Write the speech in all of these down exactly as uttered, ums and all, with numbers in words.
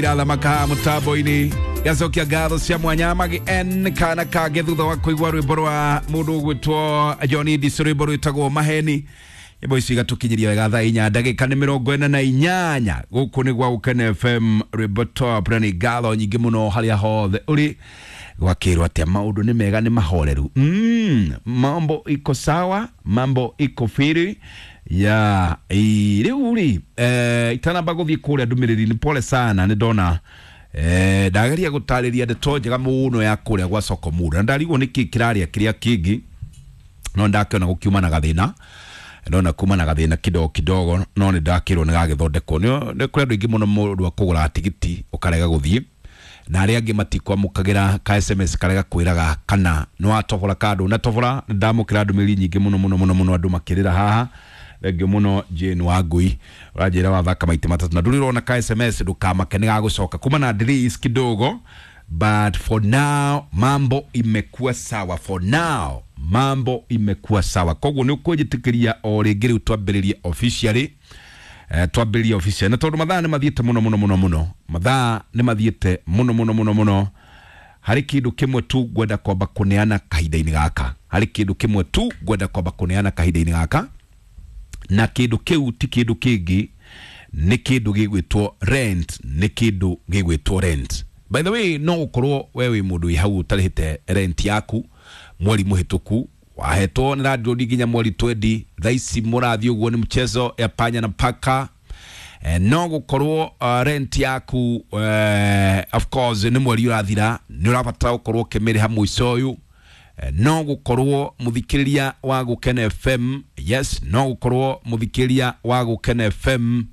Irathamaka mutambo-inĩ gacokia ngatho cia mwanya magi n kana kangĩ thutha wa kũigua rwĩmbo rwa mũndũ ũgwĩtwo John Ndichu, rwĩmbo rwĩtagwo Maheni. Nyĩmbo ici igatũkinyĩria wega thaa inya ndagĩka nĩ mĩrongo ĩna na inyanya. Gũkũ nĩ gwa Gũkena F M, rwĩmbo top, na nĩ ngatho nyingĩ mũno harĩa hothe ũrĩ. Gwakĩrwo atĩa? Maũndũ nĩ mega, nĩ mahoreru, mm, mambo iko sawa, mambo iko firi ya rĩu rĩ. eh, itanamba gũthiĩ kũrĩa ndũmĩrĩri-inĩ, pole sana, nĩ ndona eh, ndageria gũtarĩria ndeto njega mũno ya kũrĩa gwa soko mura na ndarigwo nĩkĩ kĩrarĩa kĩrĩa kĩngĩ, no ndakĩona gũkiuma na gathĩna, ndona kuma na gathĩna kidogo kidogo, no nĩ ndakĩrwo nĩ gagĩthondekwo. Nĩ kũrĩ andũ aingĩ mũno, mũndũ akũgũra tigiti ũkarega gũthiĩ, na arĩa angĩ matikwamũkagĩra ka S M S karega kwĩraga kana nĩ watobora ka ndũnatobora. Nĩ ndamũkĩra ndũmĩrĩri nyingĩ mũno mũno mũno mũno, andũ makĩrĩra haha. Thengiũ mũno Jane Wangui, ũranjĩra wathaka maita matatũ na ndũrĩ ũrona ka S M S. Ndũkamake, nĩ gagũcoka kuma na delays kidogo, but for now mambo imekuwa sawa, for now mambo imekuwa sawa. Koguo nĩ ũkũnjĩtĩkĩria o rĩngĩ rĩu twambĩrĩrie officially, eh, twambĩrĩrie officially, na tondũ mathaa nĩ mathiĩte mũno mũno mũno mũno, mathaa nĩ mathiĩte mũno mũno mũno mũno, harĩ kĩndũ kĩmwe tu ngwenda kwamba kũneana kahinda-inĩ gaka, harĩ kĩndũ kĩmwe tu ngwenda kwamba kũneana kahinda-inĩ gaka, na kĩndũ kĩu ti kĩndũ kĩngĩ, nĩ kĩndũ gĩgwĩtwo rent, nĩ kĩndũ gĩgwĩtwo rent. By the way, no ũkorwo we wĩ mũndũ wĩ hau ũtarĩhĩte rent yaku mweri mũhĩtũku, wahetwo nĩ landlord nginya mweri twendi, thaa ici mũrathiĩ ũguo nĩ mchezo ya panya na paka. Eh, no gũkorwo uh, rent yaku, uh, of course nĩ mweri ũrathira, nĩ ũrabatara gũkorwo ũkĩmĩrĩha mũico ũyũ. Eh, no gũkorwo mũthikĩrĩria wa Gũkena F M, yes, no gũkorwo mũthikĩrĩria wa Gũkena F M,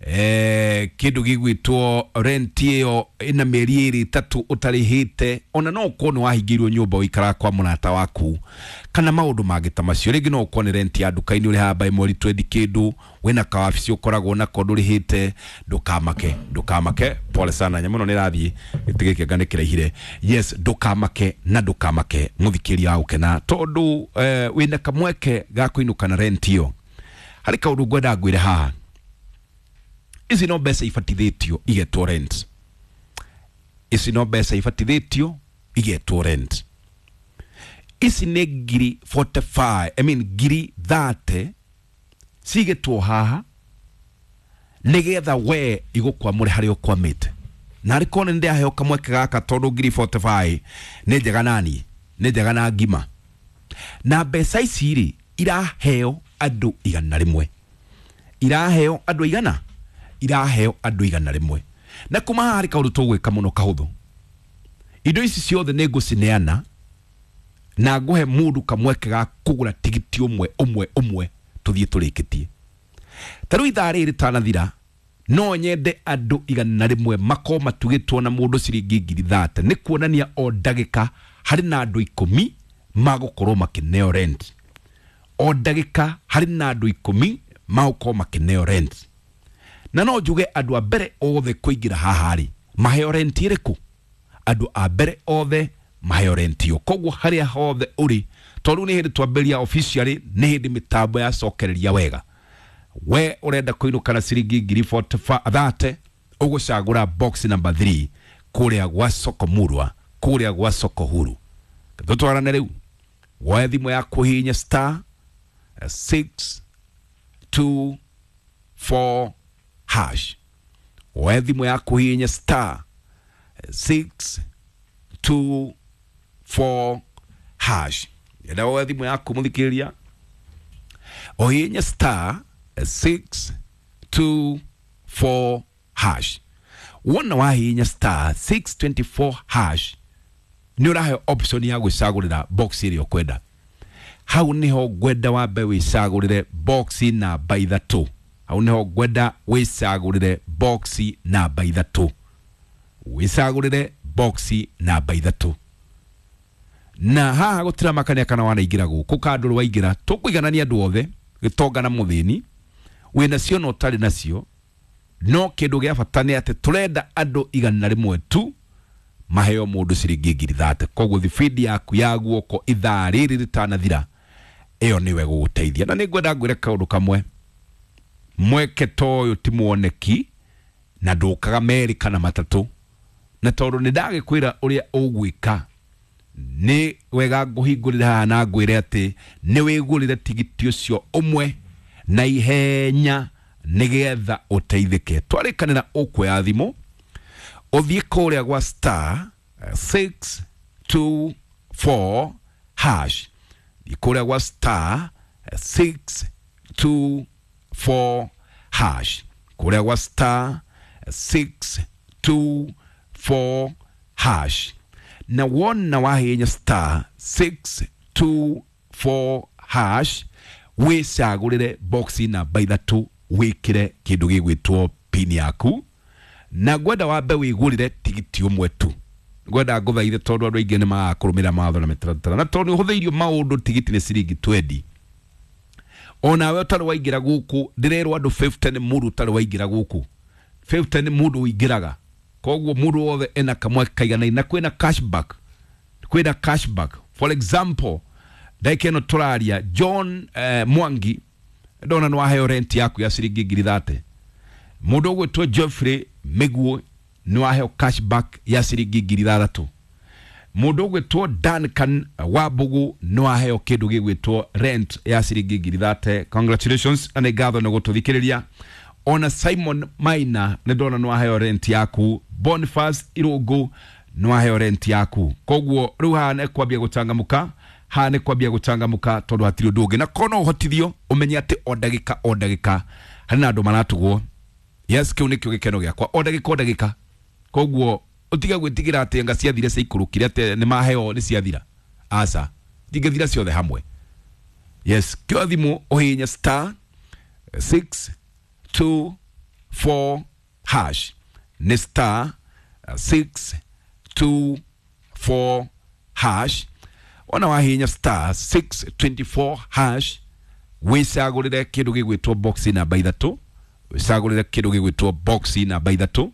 eh, kindu gigwitwo rent iyo ina mieri iri itatu utarihite, ona no ukorwo ni wahingirwo nyumba wikara kwa murata waku kana maundu mangi ta macio. Ringi no ukorwo ni rent ya nduka-ini urihaga by mweri twendi kindu, wina kawabici ukoragwo nako ndurihite. Ndukamake, ndukamake, pole sana, nyamu ĩno nĩ ĩrathiĩ gĩtĩ gĩkĩ anga nĩ kĩraihire. Yes, ndukamake na ndukamake, mũthikĩria wa gũkena, tondũ eh, wĩna kamweke ga kũinũka na rent ĩyo. Harĩ kaũndũ ngwenda ngwĩre haha. Ici no mbeca ibatithĩtio igetwo rent, ici no mbeca ibatithĩtio igetwo rent. Ici nĩ ngiri forty-five, I mean ngiri thirty cigetwo haha nigetha we igũkwamũre harĩa ũkwamĩte. Na arĩ korwo nĩ ndĩraheo kamweke gaka, tondũ ngiri forty-five nĩ njega nani, nĩ njega na ngima. Na mbeca ici rĩ, iraheo andũ igana rĩmwe, iraheo andũ igana, iraheo andũ igana rĩmwe. Na kuma haha harĩ kaũndũ tũgwĩka mũno kahũthũ. Indo ici ciothe nĩ ngũcineana na ngũhe mũndũ kamweke ga kũgũra tigiti ũmwe ũmwe ũmwe, tũthiĩ tũrĩkĩtie. Ta rĩu ithaa rĩrĩ rĩtanathira, no nyende andũ igana rĩmwe makorwo matugĩtwo na mũndũ ciringi ngiri thate. Nĩ kuonania o ndagĩka harĩ na andũ ikũmi magũkorwo makĩneo rent, o ndagĩka harĩ na andũ ikũmi magũkorwo makĩneo rent. Na no njuge andũ a mbere othe kũingĩra haha rĩ, maheo rent ĩrĩkũ? Andũ a mbere othe maheo rent ĩyo. Koguo harĩa hothe ũrĩ, tondũ nĩ hĩndĩ twambĩrĩria officially, nĩ hĩndĩ mĩtambo yacokereria wega, we ũrenda kũinũka na ciringi ngiri thate, ũgũcagũra box number three kũrĩa gwa soko murwa, kũrĩa gwa soko huru. Tũtwarane rĩu, woe thimũ yaku, hihinya star six two four hash. Woe thimũ yaku, hihinya star six two four hash. Enda woe thimũ yaku, mũthikĩrĩria, ũhihinye star six two four hash. Wona wahihinya star six two four hash, nĩ ũraheo option ya gwĩcagũrĩra box ĩrĩa ũkwenda. Hau niho ngwenda wambe wĩcagũrĩre box namba ithatũ. Hau niho ngwenda wĩcagũrĩre box namba ithatũ, wĩcagũrĩre box namba ithatũ. Na haha gũtiramakania kana wanaingĩra gũkũ kandũ waingĩra, tũkũiganania andũ othe, gĩtonga na mũthĩni, wĩna cio na ũtarĩ nacio. No kĩndũ gĩa bata nĩ atĩ tũrenda andũ igana rĩmwe tu maheo mũndũ ciringi ngiri thate. Koguo thibindi yaku ya guoko ithaa rĩrĩ rĩtanathira, ĩyo nĩwe gũgũteithia. Na nĩ ngwenda ngwĩre kaũndũ kamwe, mweke ta ũyũ ti mwoneki. Na ndũkaga merĩ kana matatũ. Na tondũ nĩ ndagĩkwĩra ũrĩa ũgwĩka, nĩ wega ngũhingũrĩre haha na ngwĩre atĩ nĩ wĩgũrĩre tigiti ũcio ũmwe na ihenya nĩgetha ũteithĩke. Twarĩkanĩra ũkuoya thimũ ũthiĩ kũrĩa gwa star six two four hash, thiĩ kũrĩa gwa star six two four hash, kũrĩa gwa star six two four hash. Na wona wahihinya star six two four hash, wĩcagũrĩre box namba ithatũ wĩkĩre kĩndũ gĩgwĩtwo pin yaku. Na ngwenda wambe wĩgũrĩre tigiti ũmwe tu. Ngwenda ngũthaithe tondũ andũ aingĩ nĩ magaga kũrũmĩrĩra mawatho na mĩtaratara, na tondũ nĩ ũhũthĩirio maũndũ tigiti nĩ ciringi twendi. Onawe ũtarĩ waingĩra gũkũ, ndĩrerwo andũ fifty nĩ mũndũ ũtarĩ waingĩra gũkũ, fifty nĩ mũndũ ũingĩraga. Koguo mũndũ wothe ena kamweke kaiganaine, na kwĩna cashback, kwĩna cashback. For example, ndagĩka ĩno tũraria John eh, Mwangi ndona nĩ waheo rent yaku ya ciringi ngiri thate. Mũndũ ũgwĩtwo Geoffrey Mĩguo nĩ waheo cashback ya ciringi ngiri ithathatũ. Mũndũ ũgwĩtwo Duncan Wambugu nĩ waheo kĩndũ gĩgwĩtwo rent ya ciringi ngiri thate. Congratulations, na nĩ ngatho nĩ gũtũthikĩrĩria. Ona Simon Maina nĩ ndona nĩ waheo rent yaku. Boniface Irũngũ nĩ waheo rent yaku. Koguo rĩu haha nĩ kwambia gũcangamũka, haha nĩ kwambia gũcangamũka tondũ hatirĩ ũndũ ũngĩ. Na korwo no ũhotithio ũmenye atĩ o ndagĩka o ndagĩka harĩ na andũ maratugwo. Yes, kĩu nĩkĩo gĩkeno gĩakwa, o ndagĩka o ndagĩka. Koguo ũtige gwĩtigĩra atĩ anga ciathire ciaikũrũkire atĩ nĩ maheo nĩ ciathira. Aca, itingĩthira ciothe hamwe. Yes, kĩoya thimũ ũhihinye star six two four hash, nĩ star six two four hash. Wona wahihinya star six twenty four hash, wĩcagũrĩre kĩndũ gĩgwĩtwo box namba ithatũ, wĩcagũrĩre kĩndũ gĩgwĩtwo box namba ithatũ,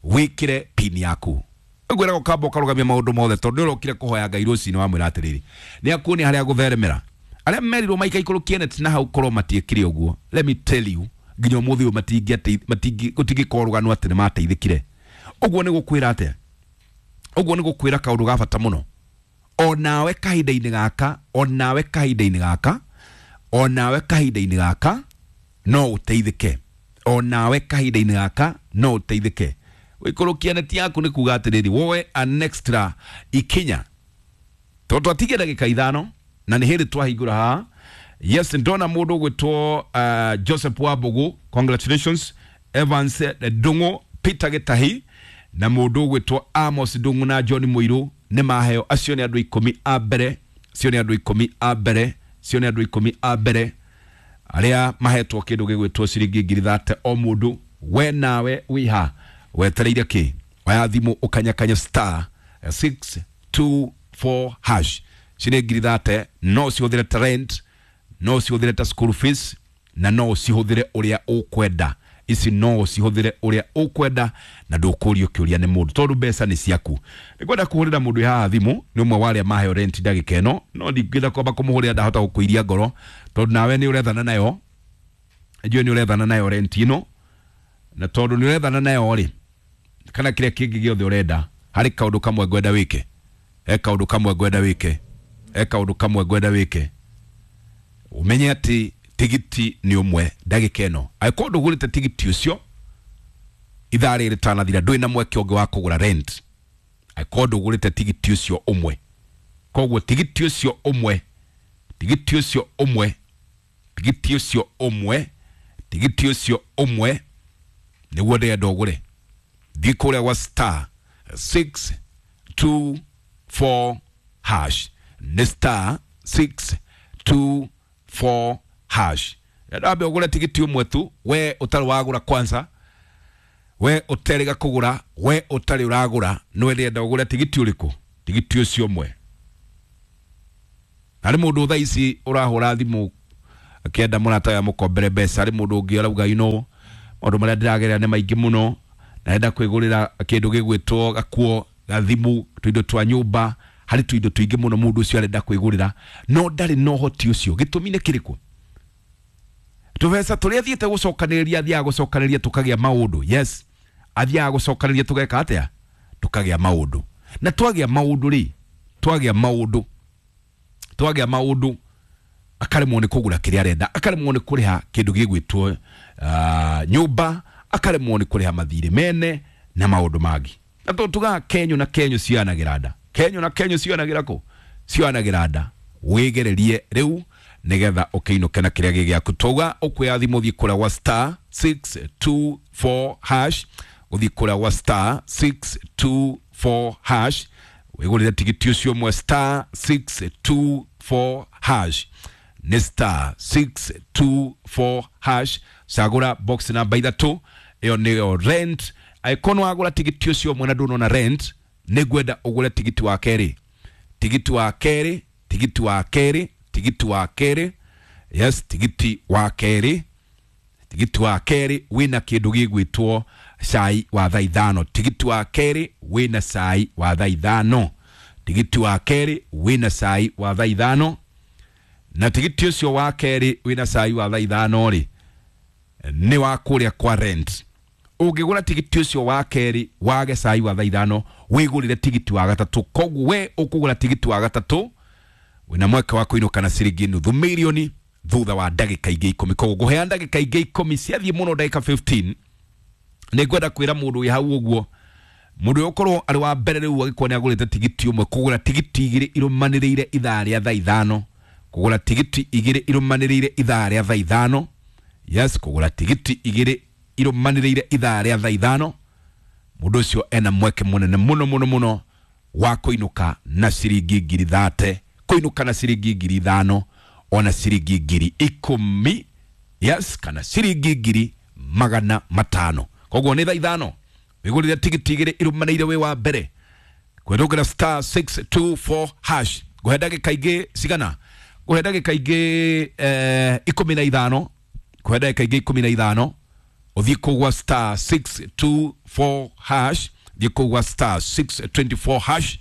wĩkĩre pin yaku. Ngwĩraga ũkamba ũkarũgamia maũndũ mothe tondũ nĩ ũrokire kũhoya Ngai rũcinĩ wamwĩra atĩrĩrĩ, nĩ akuonia harĩa gũtheremera. Arĩa merirwo maikaikũrũkie net na hau korwo matiĩkire ũguo, let me tell you, nginya ũmũthĩ ũyũ matingĩate, matingĩ, gũtingĩkorwo rũgano atĩ nĩ mateithĩkire. Ũguo nĩ gũkwĩra atĩa? Ũguo nĩ gũkwĩra kaũndũ ga bata mũno. Onawe kahinda-inĩ gaka, onawe kahinda-inĩ gaka, onawe kahinda-inĩ gaka no ũteithĩke. Onawe kahinda-inĩ gaka no ũteithĩke. Gũikũrũkia neti yaku nĩ kuga atĩrĩrĩ, woe an extra ikinya. Tondũ twatigia ndagĩka ithano na nĩ hĩndĩ twahingũra haha. Yes, ndona mũndũ ũgwĩtwo uh, Joseph Wambugu, congratulations. Evans Ndung'u, Peter Gĩtahi na mũndũ ũgwĩtwo Amos Ndung'u na John Mũirũ nĩ maheo. Acio nĩ andũ ikũmi a mbere, acio nĩ andũ ikũmi a mbere, acio nĩ andũ ikũmi a mbere arĩa mahetwo kĩndũ gĩgwĩtwo ciringi ngiri thate o mũndũ. We nawe wĩ ha wetereire kĩ? Oya thimũ ũkanyakanya star six two four hash. Ciringi ngiri thate no ũcihũthĩre ta rent, no ũcihũthĩre ta school fees, na no ũcihũthĩre ũrĩa ũkwenda. Ici no ũcihũthĩre ũrĩa ũkwenda na ndũkũrio kĩũria nĩ mũndũ tondũ mbeca nĩ ciaku. Nĩngwenda kũhũrĩra mũndũ haha thimũ, nĩ ũmwe wa arĩa maheo rent ndagĩka ĩno, no ndingĩenda kwamba kũmũhũrĩra, ndahota gũkũiria ngoro tondũ nawe nĩ ũrethana nayo. Njũĩ nĩ ũrethana nayo rent ĩno, na tondũ nĩ ũrethana nayo rĩ, kana kĩrĩa kĩngĩ gĩothe ũrenda, harĩ kaũndũ kamwe ngwenda wĩke. He kaũndũ kamwe ngwenda wĩke. He kaũndũ kamwe ngwenda wĩke. Ũmenye atĩ tigiti nĩ ũmwe ndagĩka ĩno. Angĩkorwo ndũgũrĩte tigiti ũcio ithaa rĩrĩ rĩtanathira, ndũrĩ na mweke ũngĩ wa kũgũra rent. Angĩkorwo ndũgũrĩte tigiti ũcio ũmwe. Koguo tigiti ũcio ũmwe, tigiti ũcio ũmwe, tigiti ũcio ũmwe, tigiti ũcio ũmwe nĩguo ndĩrenda ũgũre. Thiĩ kũrĩa gwa star six two four hash, nĩ star six two four hash. Ndambe ũgũre tigiti ũmwe tu, we ũtarĩ wagũra kwanza, we ũterĩga kũgũra, we ũtarĩ ũragũra, nĩwe ndĩrenda ũgũre tigiti ũrĩkũ? Tigiti ũcio ũmwe. Harĩ mũndũ thaa ici ũrahũra thimũ akĩenda mũrata we amũkombere mbeca, harĩ mũndũ ũngĩ ũrauga, you know, maũndũ marĩa ndĩragerera nĩ maingĩ mũno, na ndĩrenda kwĩgũrĩra kĩndũ gĩgwĩtwo gakuo, gathimũ, tũindo twa nyũmba, harĩ tũindo tũingĩ mũno mũndũ ũcio arenda kwĩgũrĩra, no ndarĩ na ũhoti ũcio. Gĩtũmi nĩ kĩrĩkũ? Tũbeca tũrĩa athiĩte gũcokanĩrĩria, athiaga gũcokanĩrĩria tũkagĩa maũndũ. Yes, Athiaga gũcokanĩria tũgeka atĩa? Tũkagĩa maũndũ. Na twagĩa maũndũ rĩ, twagĩa maũndũ, twagĩa maũndũ, akaremwo nĩ kũgũra kĩrĩa arenda, akaremwo nĩ kũrĩha kĩndũ gĩgwĩtwo uh, nyũmba, akaremwo nĩ kũrĩha mathirĩ mene na maũndũ mangĩ. Na tondũ tugaga kenyũ na kenyũ cionanagĩra nda, kenyũ na kenyũ cionanagĩra kũ? Cionanagĩra nda. Wĩgererie rĩu nĩgetha ũkĩinũke na kĩrĩa gĩ gĩaku. Twauga ũkuoya thimũ ũthiĩ kũrĩa gwa star six two four hash, ũthiĩ kũrĩa gwa star six two four hash, wĩgũrĩre tigiti ũcio ũmwe star six two four hash, nĩ star six two four hash. Cagũra box namba ithatũ, ĩyo nĩyo rent. Angĩkorwo nĩ wagũra tigiti ũcio ũmwe na ndũnona rent, nĩ ngwenda ũgũre tigiti wa kerĩ, tigiti wa kerĩ, tigiti wa kerĩ, tigiti wa kerĩ, yes, tigiti wa kerĩ, tigiti wa kerĩ wĩna kĩndũ gĩgwĩtwo cai wa thaa ithano. Tigiti wa kerĩ wĩna cai wa thaa ithano, tigiti wa kerĩ wĩna cai wa thaa ithano. Na tigiti ũcio wa kerĩ wĩna cai wa thaa ithano rĩ, nĩ wa kũrĩa kwa rent. Ũngĩgũra tigiti ũcio wa kerĩ wage cai wa thaa ithano, wĩgũrĩre tigiti wa gatatũ. Koguo we ũkũgũra tigiti wa gatatũ wĩna mweke wa kũinũka na ciringi nuthu mirioni thutha wa ndagĩka ingĩ ikũmi. Koguo ngũheana ndagĩka ingĩ ikũmi, ciathiĩ mũno ndagĩka fifteen. Nĩ ngwenda kwĩra mũndũ wĩ hau ũguo, mũndũ ũyũ ũkorwo arĩ wa mbere rĩu agĩkorwo nĩ agũrĩte tigiti ũmwe, kũgũra tigiti igĩrĩ irũmanĩrĩire ithaa rĩa thaa ithano, kũgũra tigiti igĩrĩ irũmanĩrĩire ithaa rĩa thaa ithano, yes, kũgũra tigiti igĩrĩ irũmanĩrĩire ithaa rĩa thaa ithano, mũndũ ũcio ena mweke mũnene mũno mũno mũno wa kũinũka na ciringi ngiri thate, kũinũka na ciringi ngiri ithano, ona ciringi ngiri ikũmi, yes, kana ciringi ngiri magana matano. Koguo nĩ thaa ithano wĩgũrĩre tigiti igĩrĩ irũmanĩrĩire wĩ wa mbere kwĩrũgĩra star six two four hash. Ngũhe ndagĩka ingĩ cigana? Ngũhe ndagĩka ingĩ eh, ikũmi na ithano, ngũhe ndagĩka ingĩ ikũmi na ithano ũthiĩ kũu gwa star six two four hash, thiĩ kũu gwa star six twenty four hash,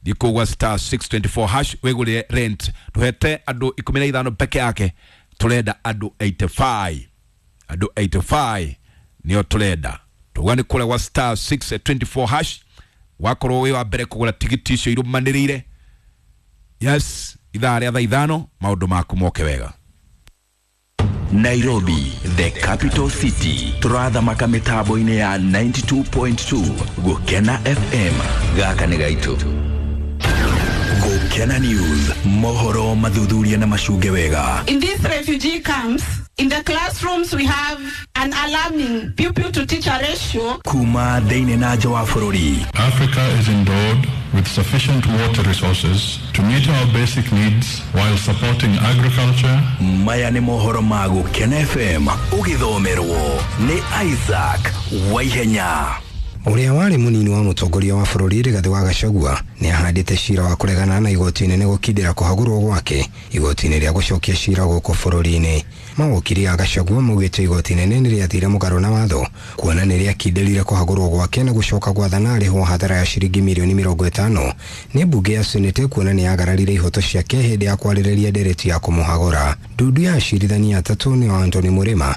thiĩ kũu gwa star six twenty four hash wĩgũrĩre rent. Tũhete andũ ikũmi na ithano peke yake, tũrenda andũ eighty five, andũ eighty five nĩo tũrenda. Tuga nĩ kũrĩa gwa star six twenty four hash, wakorwo wĩ wa mbere kũgũra tigiti icio irũmanĩrĩire, yes, ithaa rĩa thaa ithano, maũndũ maku moke wega. Nairobi, the capital city, turathamaka mĩtambo-inĩ ya ninety two point two Gũkena F M. Gaka nĩ gaitũ. Gũkena News, mohoro mathuthuria na macunge wega. In these refugee camps, in the classrooms we have an alarming pupil to teacher ratio. Kuma thĩinĩ na nja wa bũrũri. Africa is endowed with sufficient water resources to meet our basic needs while supporting agriculture. Maya nĩ mohoro ma Gũkena F M, ũgĩthomerwo nĩ Isaac Waihenya. Ũrĩa warĩ mũnini wa mũtongoria wa bũrũri Rigathĩ wa Gachagua nĩ ahandĩte cira wa kũregana na igoti inene gũkindĩra kũhagũrwo gwake igoti-inĩ rĩa gũcokia cira gũkũ bũrũri-inĩ. Mawokiri a Gachagua maugĩte igoti inene nĩ rĩathire mũgarũ na watho kuona nĩ rĩakindĩrire kũhagũrwo gwake na gũcoka gwathana arĩhwo hathara ya ciringi mirioni mĩrongo ĩtano nĩ mbunge ya Senate kuona nĩ yagararire ihoto ciake hĩndĩ ya kwarĩrĩria ndereti ya kũmũhagũra. Ndundu ya acirithania atatũ nĩo Anthony Murima,